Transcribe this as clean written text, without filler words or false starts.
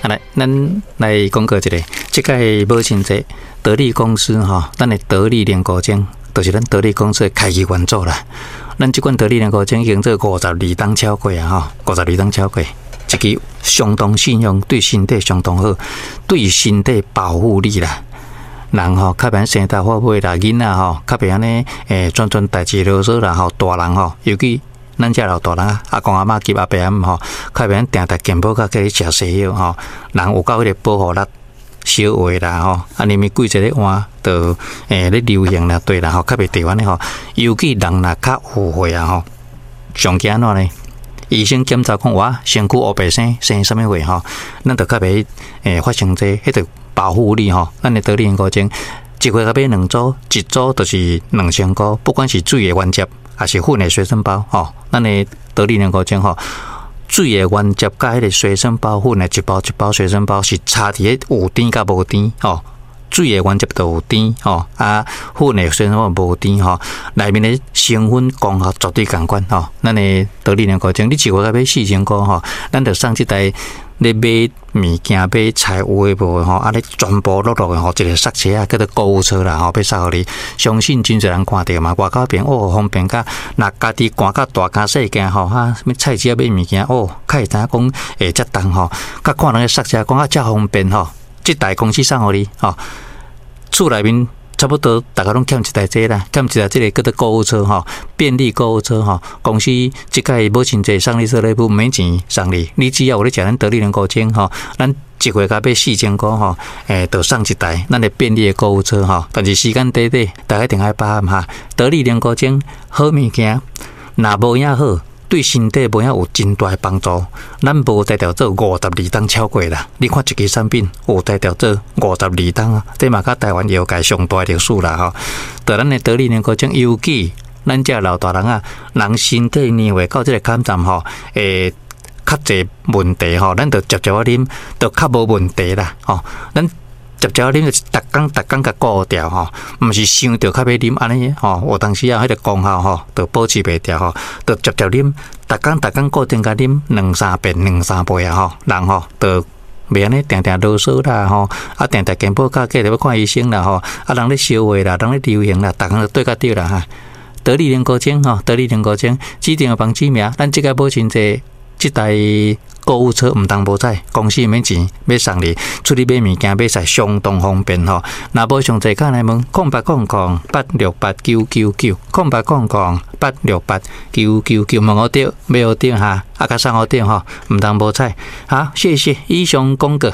啊來，咱來廣告一下，這擺母親節，得力公司吼，咱的得力凝固精，就是咱得力公司的開機元祖啦。咱這款得力凝固精已經做52冬超過啊，吼，五十二冬超過，一支相當信用，對身體相當好，對身體保護力啦。人吼較袂生大發尾啦，囡仔吼較袂按呢，專專代誌囉嗦啦吼，大人吼，尤其咱遮老大人啊，阿公阿嬤及阿伯阿姆吼，較袂按定定健保卡叫你食西藥吼，人有夠彼個保護力。小話啦吼，啊，連咪季節咧換，就咧流行啦，對啦吼，較袂著按呢吼。尤其人若較有歲啊吼，上驚按怎呢？醫生檢查講哇，身軀烏白生生啥物貨吼，咱就較袂發生這彼個保護力吼。咱的得力凝固精，一回共買兩組，一組就是2000箍，不管是水的原汁，抑是粉的隨身包吼，咱的得力凝固精吼。水的原汁佮彼個隨身包粉的一包一包隨身包是差佇咧有甜佮無甜吼，水的原汁就有甜吼，啊粉的隨身包無甜吼，內面的成分功效絕對仝款吼。咱的得力凝固精，你一個月買4000箍吼，咱就送這台咧買物件買菜有的無的吼，啊咧全部落落的吼，一个剎車啊，叫做購物車啦吼，欲送予你。相信真濟人看著嘛，外口邊哦方便甲，若家己寒甲大驚細驚吼，哈，啥物菜市仔買物件哦，較會知影講會遮重吼，佮看人咧剎車講啊遮方便吼，這台公司送予你吼，厝內面差不多逐家攏欠一台這啦，欠一台這个叫做購物車吼，便利購物車吼。公司這擺母親節送你做禮物，毋免錢送你，你只要有咧食咱得力凝固精吼，咱一月共買4000箍吼，就送一台咱的便利的購物車吼。但是時間短短，大家一定愛把握哈。得力凝固精好物件，若無影好，對身體無影有真大的幫助。咱無才調做52冬超過啦。你看一支產品有才調做五十二冬啊，這嘛佮台灣藥界上大的歷史啦吼。著咱的得力凝固精，尤其咱遮老大人啊，人身體年歲到這個坎站吼，會較濟問題吼，咱著捷捷仔啉，著較無問題啦吼。咱捷捷仔啉就是逐工逐工共顧牢吼，毋是想著較欲啉按呢吼，有當時啊，彼個功效吼，著保持袂牢吼，著捷捷啉，逐工逐工固定共啉兩三遍、兩三杯啊吼，人吼著袂按呢定定囉嗦啦吼，啊定定健保卡過著欲看醫生啦吼，啊人咧燒話啦，人咧流行啦，逐工就對較對啦哈。得力凝固精吼，得力凝固精，指定的網址名，咱這擺母親節。這台購物車毋通無彩，公司免錢，欲送你出去買物件買菜相當方便吼。若無詳細敲來問0800868999，0800868999，問予著，買予著哈，啊，佮送予著吼，毋通無彩。好，謝謝，以上廣告。